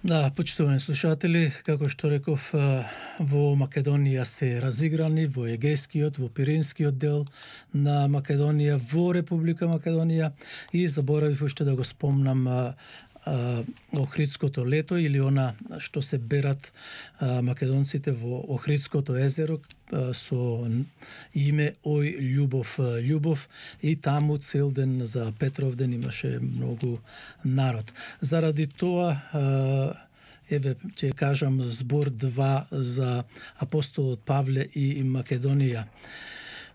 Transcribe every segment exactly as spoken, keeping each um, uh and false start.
Да, почитувани слушатели, како што реков, во Македонија се разиграни во Егејскиот, во Пиринскиот дел на Македонија, во Република Македонија, и заборавив уште да го спомнам а, а, Охридското лето, или она што се берат а, македонците во Охридското езеро а, со име Ој љубов љубов, и таму цел ден за Петровден имаше многу народ. Заради тоа а, еве ќе кажам збор два за апостолот Павле и Македонија.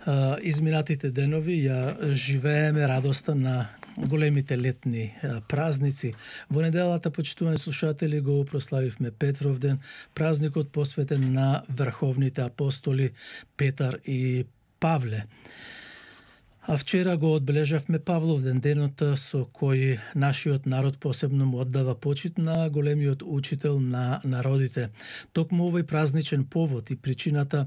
А, изминатите денови ја живееме радоста на големите летни празници. Во неделата, почитувани слушатели, го прославивме Петровден, празникот посветен на врховните апостоли Петар и Павле. А вчера го одбележавме Павловден, денот со кој нашиот народ посебно му оддава почит на големиот учител на народите. Токму овој празничен повод и причината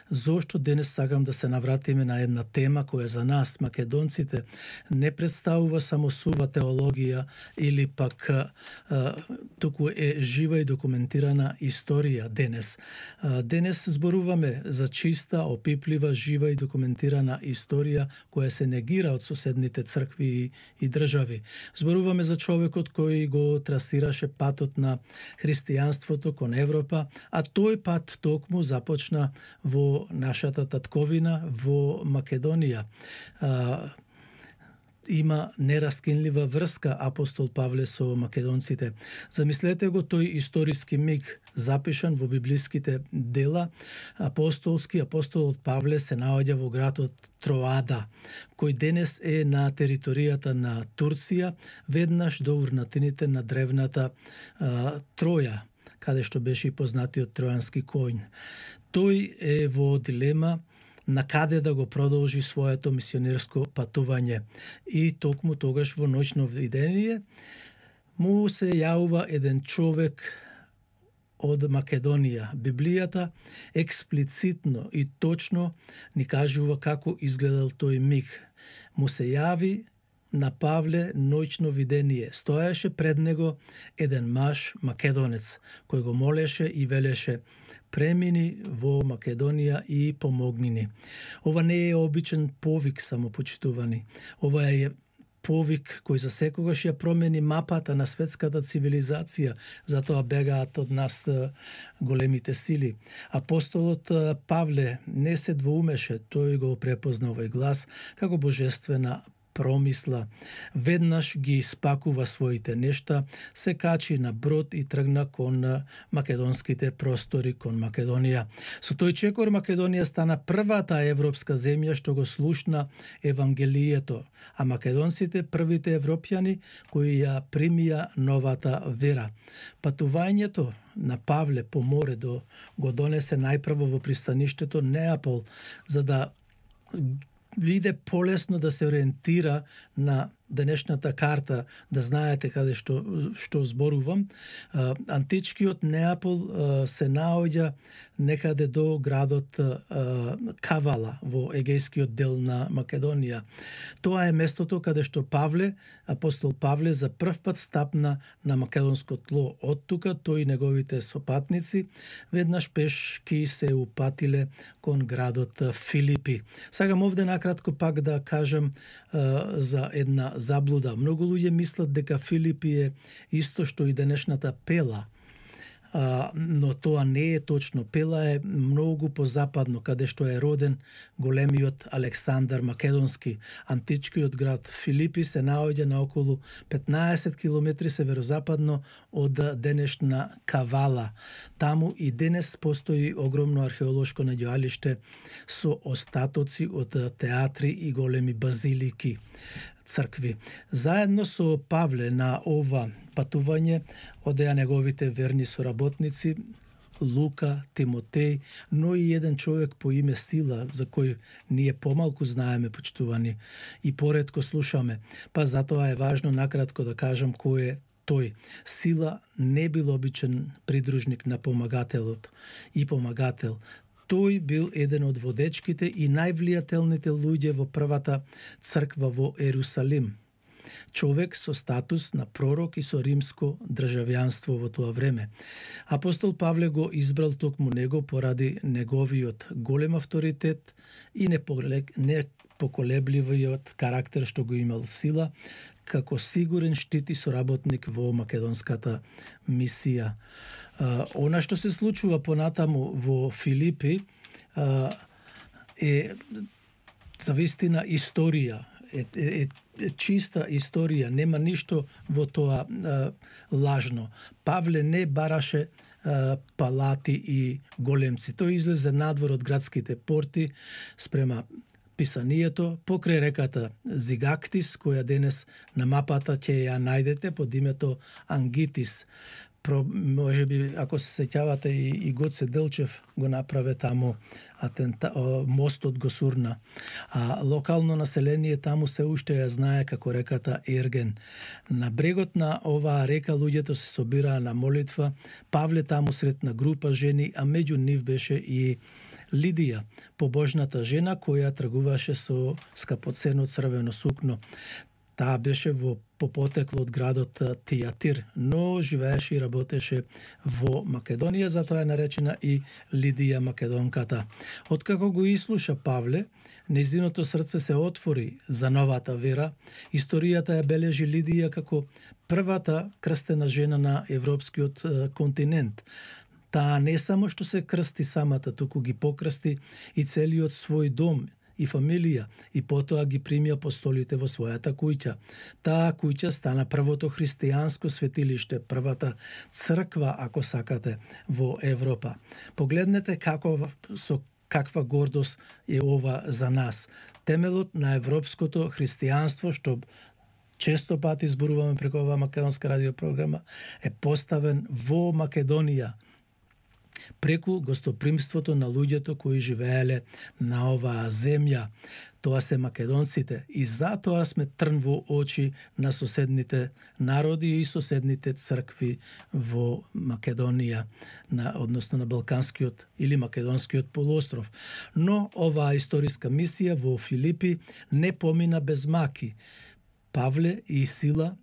зошто денес сакам да се навратиме на една тема која за нас, македонците, не представува само сува теологија или пак а, туку е жива и документирана историја денес. А, денес зборуваме за чиста, опиплива, жива и документирана историја која се негира од соседните цркви и, и држави. Зборуваме за човекот кој го трасираше патот на христијанството кон Европа, а тој пат токму започна во нашата татковина, во Македонија. А, има нераскинлива врска апостол Павле со македонците. Замислете го тој историски миг запишан во библиските дела. Апостолски апостолот Павле се наоѓа во градот Троада, кој денес е на територијата на Турција, веднаш до урнатините на древната а, Троја, каде што беше и познатиот тројански коњ. Тој е во дилема на каде да го продолжи своето мисионерско патување. И токму тогаш во ноќно видение му се јавува еден човек од Македонија. Библијата експлицитно и точно ни кажува како изгледал тој миг. Му се јави на Павле ноќно видение. Стоеше пред него еден маж македонец, кој го молеше и велеше: премини во Македонија и помогни ни. Ова не е обичен повик, само почитувани. Ова е повик кој за секогаш ја промени мапата на светската цивилизација, затоа бегаат од нас големите сили. Апостолот Павле не се двоумеше, тој го препозна овој глас како божествена промисла. Веднаш ги испакува своите нешта, се качи на брод и тргна кон македонските простори, кон Македонија. Со тој чекор Македонија стана првата европска земја што го слушна Евангелието, а македонците првите европјани кои ја примија новата вера. Патувањето на Павле по море до го донесе најпрво во пристаништето Неапол, за да биде полесно да се ориентира на денешната карта, да знаете каде што што зборувам. Античкиот Неапол се наоѓа некаде до градот Кавала во егејскиот дел на Македонија. Тоа е местото каде што Павле, апостол Павле, за прв пат стапна на македонско тло. Од тука тој и неговите сопатници веднаш пешки се упатиле кон градот Филипи. Сакам овде накратко пак да кажам за една заблуда. Многу луѓе мислат дека Филипи е исто што и денешната Пела, а, но тоа не е точно. Пела е многу позападно, каде што е роден големиот Александар Македонски. Античкиот град Филипи се наоѓа на околу петнаесет километри северозападно од денешна Кавала. Таму и денес постои огромно археолошко наѓоалиште со остатоци од театри и големи базилики, цркви. Заедно со Павле на ова патување одеа неговите верни соработници Лука, Тимотеј, но и еден човек по име Сила, за кој ние помалку знаеме, почитувани, и поретко слушаме. Па затоа е важно накратко да кажам кој е тој. Сила не бил обичен придружник на помагателот и помагател. Тој бил еден од водечките и највлијателните луѓе во првата црква во Ерусалим. човек со статус на пророк и со римско државјанство во тоа време. Апостол Павле го избрал токму него поради неговиот голем авторитет и непоколебливиот карактер што го имал сила, како сигурен штит и соработник во македонската мисија. Uh, она што се случува понатаму во Филипи uh, е завистина историја, е, е, е чиста историја, нема ништо во тоа uh, лажно. Павле не бараше uh, палати и големци. Тој излезе надвор од градските порти спрема писанието покрај реката Зигактис, која денес на мапата ќе ја најдете под името Ангитис. Про, може би, ако се сеќавате, и, и Гоце Делчев го направи таму, атента, о, мостот го сурна. А локално население таму се уште ја знае како реката Ерген. На брегот на оваа река луѓето се собираа на молитва. Павле таму сретна група жени, а меѓу нив беше и Лидија, побожната жена која тргуваше со скапоцено црвено сукно. Таа беше во по потекло од градот Тијатир, но живееше и работеше во Македонија, затоа е наречена и Лидија Македонката. Откако го ислуша Павле, нејзиното срце се отвори за новата вера. Историјата ја бележи Лидија како првата крстена жена на европскиот континент. Таа не само што се крсти самата, туку ги покрсти и целиот свој дом и фамилија, и потоа ги прими апостолите во својата куќа. Таа куќа стана првото христијанско светилиште, првата црква, ако сакате, во Европа. Погледнете како со каква гордост е ова за нас. Темелот на европското христијанство, што често пати зборуваме преку оваа македонска радиопрограма, е поставен во Македонија, преку гостопримството на луѓето кои живееле на оваа земја. Тоа се македонците и затоа сме трн во очи на соседните народи и соседните цркви во Македонија, на, односно на Балканскиот или Македонскиот полуостров. Но оваа историска мисија во Филипи не помина без маки. Павле и Сила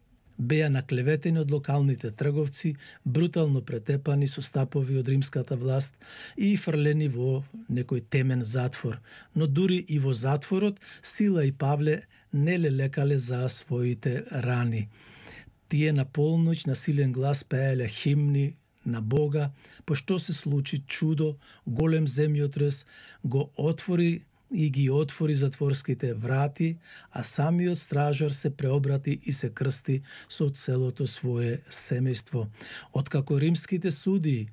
беа наклеветени од локалните трговци, брутално претепани со стапови од римската власт и фрлени во некој темен затвор. Но дури и во затворот, Сила и Павле не лелекале за своите рани. Тие на полноќ на силен глас пееле химни на Бога, пошто се случи чудо, голем земјотрес го отвори и ги отвори затворските врати, а самиот стражар се преобрати и се крсти со целото свое семејство. Откако римските судии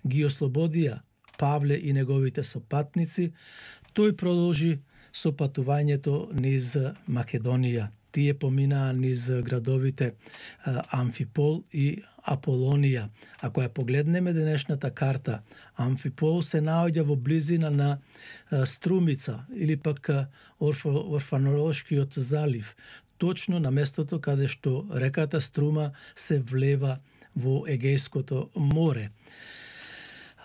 ги ослободија Павле и неговите сопатници, тој продолжи со патувањето низ Македонија. Тие поминаа низ градовите Амфипол и Аполонија. Ако ја погледнеме денешната карта, Амфипол се наоѓа во близина на Струмица или пак Орфанолошкиот залив, точно на местото каде што реката Струма се влева во Егејското море.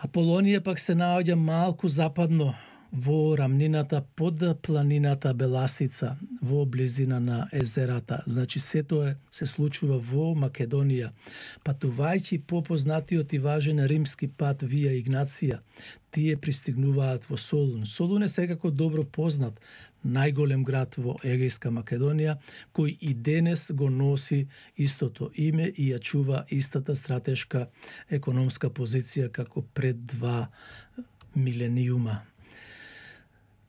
Аполонија пак се наоѓа малку западно во рамнината под планината Беласица, во близина на езерата. Значи, се тоа се случува во Македонија. Патувајќи по познатиот и важен римски пат Вија Игнација, тие пристигнуваат во Солун. Солун е секако добро познат најголем град во Егејска Македонија, кој и денес го носи истото име и ја чува истата стратешка економска позиција како пред два милениума.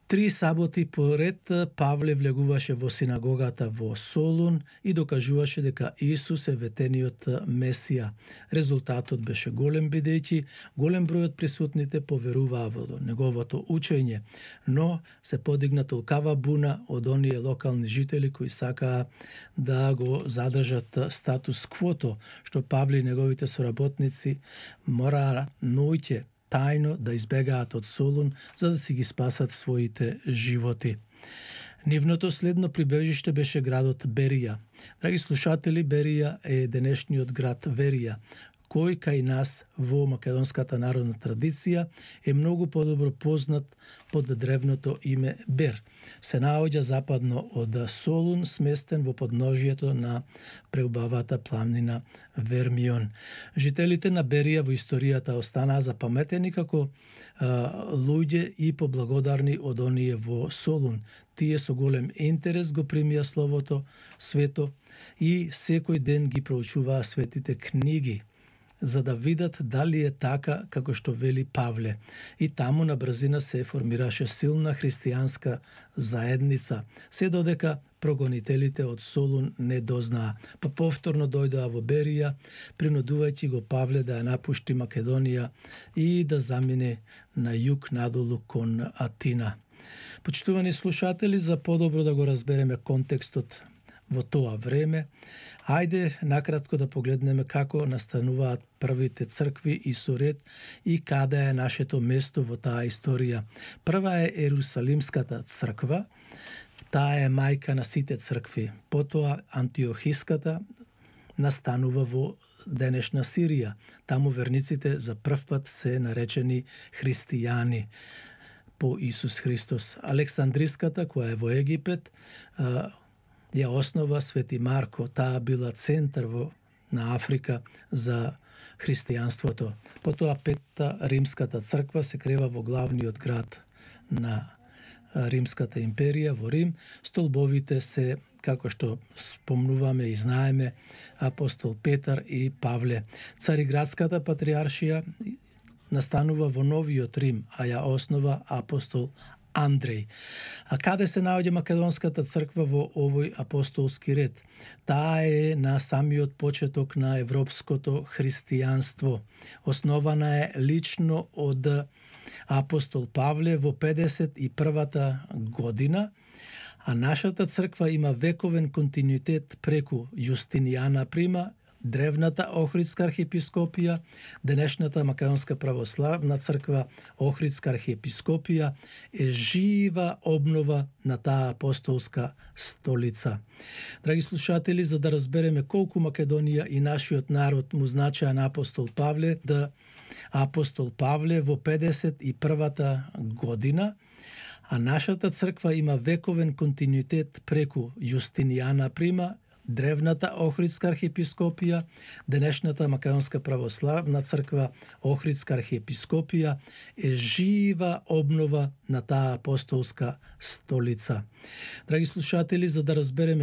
Три саботи поред Павле влегуваше во синагогата во Солун и докажуваше дека Исус е ветениот Месија. Резултатот беше голем, бидејќи голем број од присутните поверуваа во неговото учење, но се подигна толкава буна од оние локални жители кои сакаа да го задржат статус квото, што Павле и неговите соработници мораа ноќе тајно да избегаат од Солун за да си ги спасат своите животи. Нивното следно прибежиште беше градот Берија. Драги слушатели, Берија е денешниот град Верија, кој кај нас во македонската народна традиција е многу подобро познат под древното име Бер. Се наоѓа западно од Солун, сместен во подножието на преубавата планина Вермион. Жителите на Берија во историјата останаа запаметени како а, луѓе и поблагодарни од оние во Солун. Тие со голем интерес го примија Словото свето и секој ден ги проучуваа светите книги, за да видат дали е така како што вели Павле. И таму на брзина се формираше силна христијанска заедница, се додека прогонителите од Солун не дознаа, па повторно дојдоа во Берија, принудувајќи го Павле да ја напушти Македонија и да замине на југ надолу кон Атина. Почитувани слушатели, за подобро да го разбереме контекстот во тоа време, ајде накратко да погледнеме како настануваат првите цркви и суред и каде е нашето место во таа историја. Прва е Ерусалимската црква, таа е мајка на сите цркви. Потоа Антиохиската настанува во денешна Сирија. Таму верниците за прв пат се наречени христијани по Исус Христос. Александриската, која е во Египет, ја основа Свети Марко. Таа била центар во, на Африка за христијанството. Потоа Петта Римската црква се крева во главниот град на Римската империја, во Рим. Столбовите се, како што спомнуваме и знаеме, апостол Петар и Павле. Цариградската патриаршија настанува во Новиот Рим, а ја основа апостол Андреј. А каде се наоѓа Македонската црква во овој апостолски ред? Таа е на самиот почеток на европското христијанство. Основана е лично од апостол Павле во педесет и првата година, а нашата црква има вековен континуитет преку Јустинијана Прима, древната Охридска архиепископија, денешната Македонска православна црква, Охридска архиепископија, е жива обнова на таа апостолска столица. Драги слушатели, за да разбереме колку Македонија и нашиот народ му значеа на апостол Павле, да апостол Павле во педесет и првата година, а нашата црква има вековен континуитет преку Јустинијана Прима, древната Охридска архиепископија, денешната Македонска православна црква, Охридска архиепископија, е жива обнова на таа апостолска столица. Драги слушатели, за да разбереме